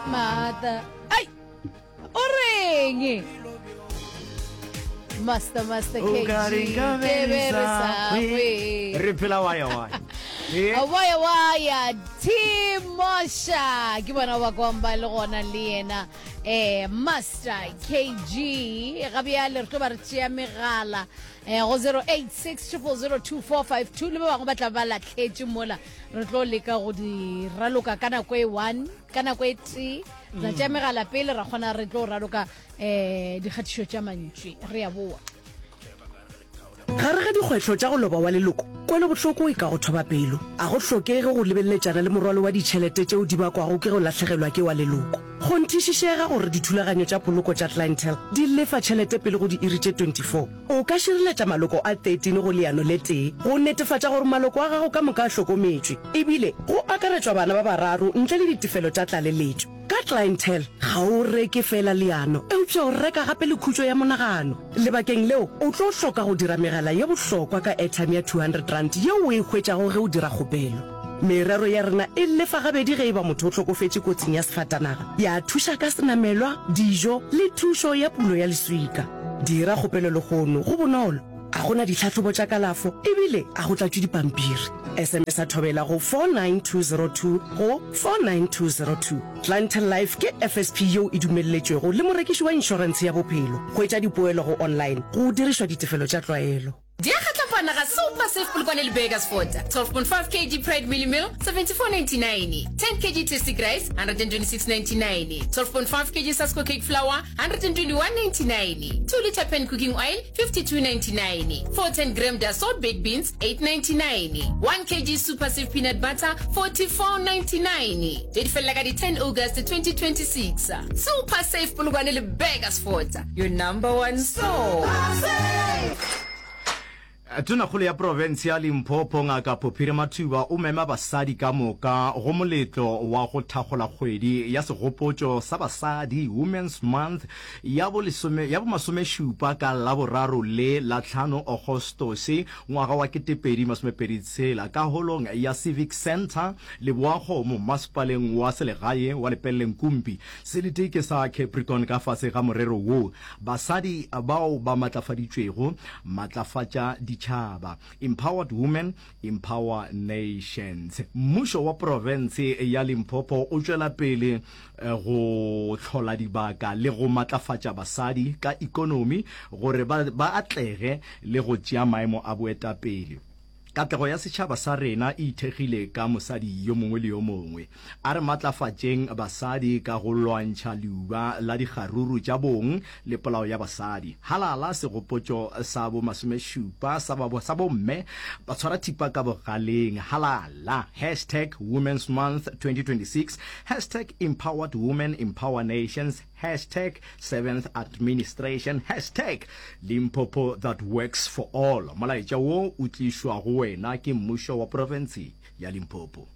Mata. Ai! O reng? Master Master O KG. ka re nka be Ke re be re sa sa hwe. hwe. Re phela waya waya. Eh. Waya waya Timosha ke bona ba kwang ba le gona le yena eh Master KG ga bjale re tlo ba re tšea megala eh go 086 0002452 le ba bangwe ba tla ba lahletše mola re tlo leka go di raloka ka nako e one ka nako e tee ra tšea megala pele ra kgona re tlo raloka um dikgatišo tša mantši re ya boa Gare ga dikgwetlho tša go loba wa leloko, kwelobohloko e ka go thoba pelo. A go hlokege go lebeleletšana le morwalo wa ditšhelete tšeo di bakwago ke go lahlegelwa ke wa leloko. Kgonthišišega gore dithulaganyo tša poloko tša Clientele di lefa tšhelete pele go diiri tše 24. O ka šireletša maloko a 13 go leano le tee go netefatša gore maloko a gago ka moka a hlokometšwe, ebile go akaretšwa bana ba bararo ntle le ditefelo tša tlaleletšo. Ka Clientele, ga o reke feela leano, eupša o reka gape le khutšo ya monagano. Lebakeng leo, o tlo hloka go dira megala ye bohlokwa ka airtime ya R200 yeo o e hwetšago ge o dira kgopelo. Merero ya rena e lefa gabedi ge e ba motho o hlokofetše kotsing ya sefatanaga, ya thuša ka senamelwa, dijo le thušo ya pulo ya leswika. Dira kgopelo lehono, go bonolo, ga go na ditlhahlobo tša kalafo ebile ga go tlatšwe dipampiri. SMS-a Thobela go 49202 go 49202. Clientele Life ke FSP yeo e dumelletšwego le morekiši wa inšorentshe ya bophelo. Hwetša dipoelo go online go dirišwa ditefelo tša tlwaelo. Di a kgatlapana ga Super Safe Polokwane le Burgersfort. 12.5 kg Pride Mealie Meal, 74.99. 10 kg Tastic Rice, 126.99. 12.5 kg Sasko Cake Flour, 121.99. 2 litre Pan Cooking Oil, 52.99. 410 gram Dassault Baked Beans, 8.99. 1 kg Super Safe Peanut Butter, 44.99. Tše di felela ka di 10 August 2026. Super Safe Polokwane le Burgersfort, your number one store. Tonakgolo ya profense ya Limpopo Ngaka Phophiri Mathuba o mema basadi ka moka go moletlo wa go thakgola kgwedi ya segopotšo sa basadi, Women's Month, ya bo lesome, ya bomasomešupa ka Laboraro le la tlhano Agostose ngwaga wa 2026 ka holong ya Civic Centre, Leboakgomo, masepaleng wa selegae wa Lepelle-Nkumpi. Selete ke sa Capricorn ka fase ga morero wo, Basadi bao ba matlafaditšwego, matlafatša ditšhaba, Empowered Women, Empower Nations. Mmušo wa profense ya Limpopo o tšwela pele go hlola dibaka le go matlafatša basadi ka ekonomi gore ba ba atlege le go tšea maemo a boetapele. Katlego ya setšhaba sa rena e ithekgile ka mosadi yo mongwe le yo mongwe. A re matlafatšeng basadi ka go lwantšha leuba la dikgaruru tša bong le polao ya basadi. Halala segopotšo sa bo masomešupa sa ba sa bomme ba tshwara thipa ka bogaleng. Halala! Hashtag Women's Month 2026 Hashtag Empowered Women Empower Nations Hashtag Seventh Administration Hashtag Limpopo that works for all Molaetša wo o tlišwa go wena ke mmušo wa profense ya Limpopo.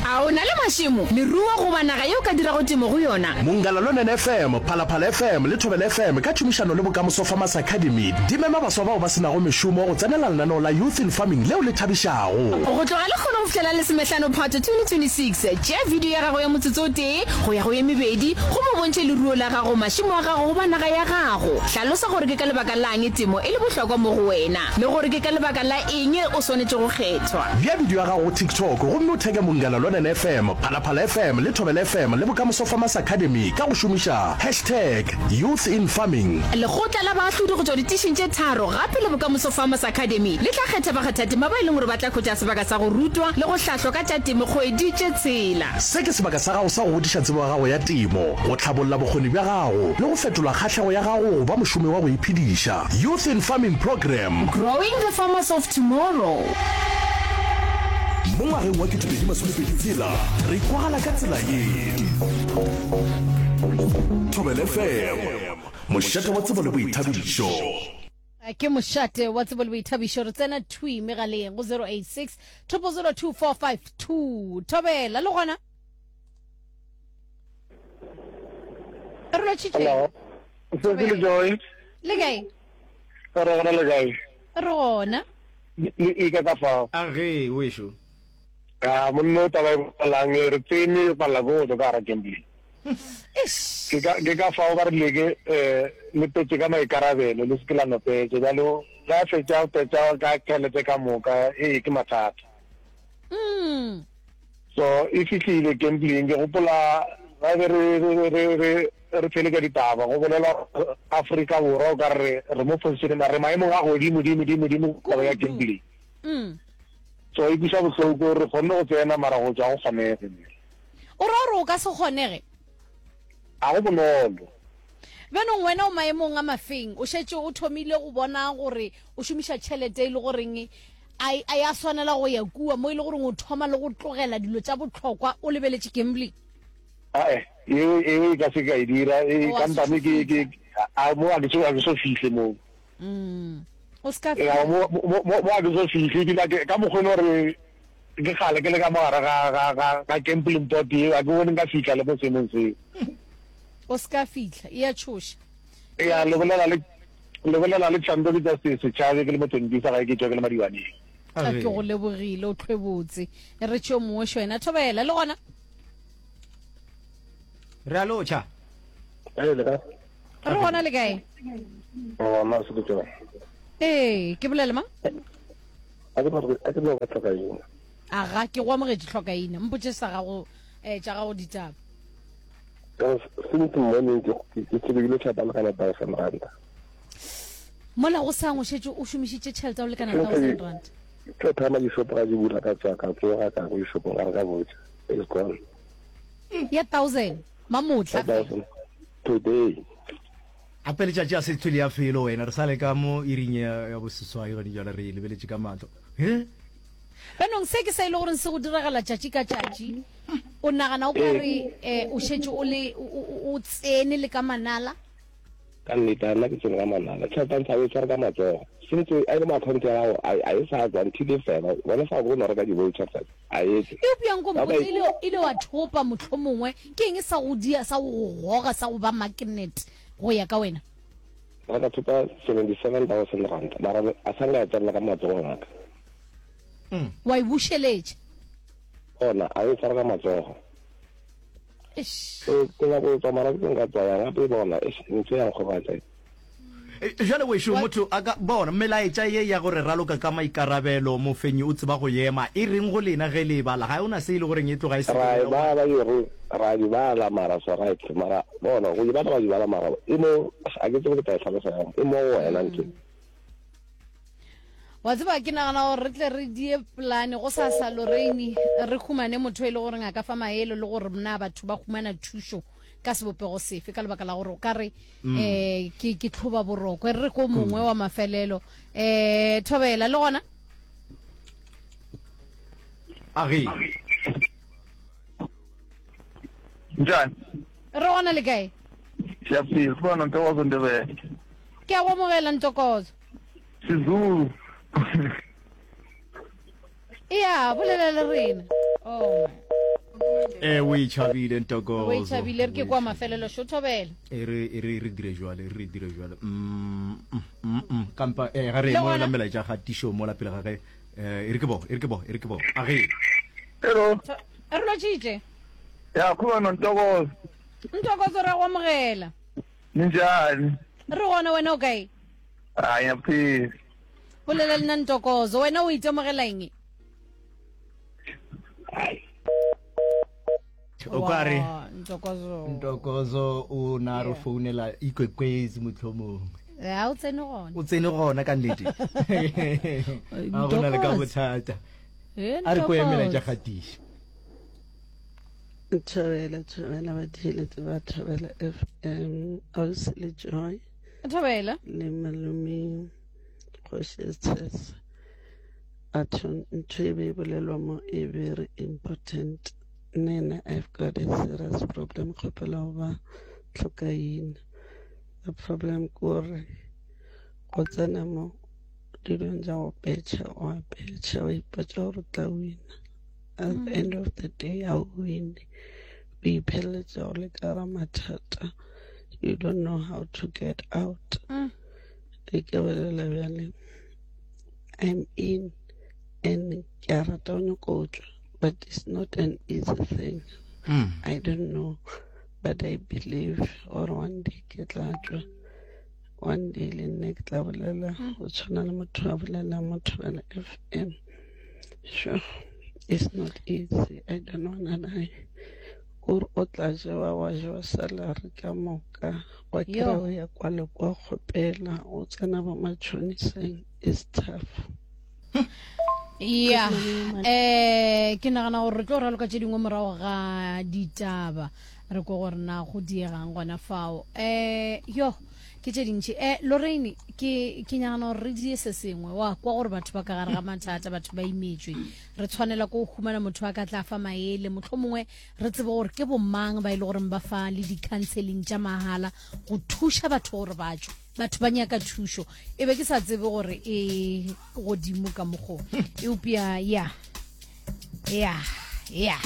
A o na le mašemo, leruo goba naga ye o ka dirago temo go yona? Mongala Lonene FM, Phalaphala FM le Thobela FM ka tšhomišano le Bokamoso Farmers Academy di mema baswa bao ba se nago mešomo go tsenela lenaneo la Youth in Farming leo le thabišago. Go tloga lekgono go fihlela lesomehlano Phato 2026, tšea video ya gago ya motsotso o tee go ya go ye mebedi gomme o bontšhe leruo la gago, mašemo a gago goba naga ya gago. Hlalosa gore ke ka lebaka la'ng temo e le bohlokwa mo go wena le gore ke ka lebaka la eng o swanetše go kgethwa. Bea bidio ya gago go TikTok gomme o theke Munghana Lonene FM, Phalaphala FM le Thobela FM le Bokamoso Farmers Academy ka go šomiša hashtag YouthInFarming. Lekgotla la baahlodi go tšwa ditišing tše tharo gape le Bokamoso Farmers Academy le tla kgetha bakgathatema ba e leng gore ba tla hwetša sebaka sa go rutwa le go hlahlwa ka tša temo kgwedi tše tshela. Se ke sebaka sa gago sa go godiša tsebo ya gago ya temo, go hlabolla bokgoni bja gago le go fetola kgahlego ya gago go ba mošomi wa go iphediša. Youth in Farming Programme. Growing the farmers of tomorrow. Mo ngwageng wa 2026, re kwagala ka tsela ye. Thobela FM, mošate wa tsebo le boithabišo. Ke mošate wa tsebo le boithabišo. Re tsena thwi megaleng go 086 0002452. Thobela le gona. Re lotšhitše. Hello. Sesi le Joy. Le kae? Re gona le kae? Re gona. Le e ka ka fao. A ge wešo. A monna o taba e bolelang re tsene re palela ke go tšwa ka gara gambling. Ke ka ke ka fao ba rile ke eh le petše ka maikarabelo le se ke la no petša. Bjalo ge a fetša go petša ka tšhelete ka moka ee ke mathata. So e fihlile gambling ke gopola ga be re re re re re theletša ditaba go bolelwa Afrika Borwa o ka re re mo position mara re maemong a godimo dimo dimo dimo taba ya gambling. So e kweša bohloko re kgonne go tsena mara go tšwa go kgonege. O ra gore o ka se kgonege? Ga go bonolo. Bjanong wena o maemong a mafeng? O šetše o thomile go bona gore o šomiša tšhelete e le goreng a a ya swanela go ya kua mo e le goreng o thoma le go tlogela dilo tša bohlokwa o lebeletše gambling? Ae, eo eo e ka se ka e dira e O a se kampane ke ke a mo a ke so a ke so fihle moo. Mm. O se ka Ya fihla. mo mo mo mo a ke so fihle ebile ke ka mokgwa e le gore ke kgale ke le ka mogare ga ga ga ga gambling board eo a ke bone nka fihla le mo seemong seo. O se ka fihla. E a tšhoša. Ya le bolela le le bolela le Chando ke tša se setšhabe ke le Motondisa gae ke tšwa ke le Madiwaneng. A ke go lebogile o tlhwebotse. Re tšeo mongwe wena thobela le gona. Re a lotšha. Ee, le kae? Re gona le kae? Gona se ke tsona. Ee, ke bolele mang? A ke no a ke no ba tlhokaina. Aga, ke go amogetše tlhokaina. Mpotše sa gago eh tša gago ditaba. Ka since morning ke ke tsebile tšhelete ya lekana 1000 rand. Mola go sang o šetše o šomišitše tšhelete ya go lekana 1000 rand. Ke thoma dishopo ga di bula ka tswa ka tsoga ka go dishopong ga re ka botša. It's gone. Ya 1000 mamotla fela. Today. Gape letšatši a se thwele ya felo wena re sa le ka mo iring ya ya boseswai gone jale re e lebeletše ka mahlo. He? Bjanong se ke se e le goreng se go diragala tšatši ka tšatši. O nagana o ka re eh, o šetše o le o, o, o tsene le ka manala? Ka nnete, a nna ke tsene ka manala. Tšhelete ya ntsha o e tshware ka matsogo. Since a e le mo account ya gago, a a e sa tswa until e fela. Wena sa go no reka di-voucher fela. A e tswe. Eupša nko Ba ba mpotse, ile, ile wa thopa mohlomongwe, ke eng sa go dia, sa go go goga, sa go ba magnet go ya ka wena? Ba ka thopa 77,000 rand, mara a sa nka ya tsenela ka matsogong a ka. Wa e bušeletša? Gona, a e tshwara ka matsogo. Eish. So, ke nyako go tswa mara ke nka tswa yang gape bona, eish, ntho ya nkgobatša. Jwale wešo motho a ka bona melaetša ye ya gore raloka ka maikarabelo, mofenyi o tseba go ema, e reng go lena ge le e bala? Ga e ona se e le goreng e tloga e se Ra e bolela go. bala e re ra di bala mara so right mara bona go di bala ba di bala mara e mo a ke tsebe ke tla e hlalosa yang e mo go wena ntho. Wa tseba ke nagana gore re tle re die polane go sa sa Lorraine re humane motho e le goreng a ka fa maele le gore na batho ba humana thušo ka sebopego sefe ka lebaka la gore o ka re um ke ke tlhoba boroko e re re ko mongwe wa mafelelo um thobela le gona Age. Njani? Re gona le kae? Siyaphila, sibona Ntokozo Ndebele. Ke a go amogela Ntokozo. Sizulu. Ea, bolela le rena. Oh. Eh, o e tšhabile Ntokozo. O e tšhabile re ke kwa mafelelo šo thobela. E re e re re dire jwale, re dire jwale. Mm, mm, mm, mm. Kampa eh ga re mo la melaetša ga tisho mo la pele ga ge. Eh, e re ke bo, e re ke bo, e re ke bo. A ge. Hello. Re lotšitše. Ya, khona Ntokozo. Ntokozo ra go amogela. Ninjani? Re gona wena o kae? A ngiyaphila. Bolela le nna Ntokozo, wena o itemogela eng? O ka re Wa, Ntokozo. Ntokozo o na re founela ikwekwezi mohlomongwe. Ya o tsene gona. O tsene gona ka nnete. A go na le ka bothata. Eh, A re ko emela Ntokozo. tša gatiša. Thobela, thobela batheeletši ba Thobela FM, Ausi le Joy. Thobela. Le malome Kgoši Tshese. Batho ntho e be e bolelwa mo e very important. Nna I've got a serious problem kgopela go ba tlhokaina. The problem ke gore go tsena mo dilong tša go petšha wa petšha wa ipotša gore o tla wina. At the end of the day ga o wine o ipheletša o le ka ga mathata you don't know how to get out mm. e ke bolela bjale i'm in and ke a rata o nyako tšwa. But it's not an easy thing. Mm. I don't know, but I believe or one day ke tla tšwa. One day le nna ke tla bolela mm. go tshwana le motho a bolela mo Thobela FM. Sure, it's not easy. I don't wanna lie. Kore o tla jewa wa jewa salary ka moka wa kry o ya kwa le kwa kgopela o tsena bo matšhoniseng is tough. Ya eh ke nagana gore re tlo raloka tše dingwe morago ga ditaba re ko gore na go diegang gona fao eh yo ke tše dintši eh Lorraine ke ke nagana gore re die se sengwe wa kwa gore batho ba ka gare ga mathata batho ba imetšwe re tshwanela ko go humana motho a ka tla fa maele motlho mongwe re tsebe gore ke bomang ba e le goreng ba fa le di-counseling tša mahala go thuša batho gore ba tšwe batho ba nyaka thušo e be ke sa tsebe gore e godimo ka mokgo eupša ya ya ya.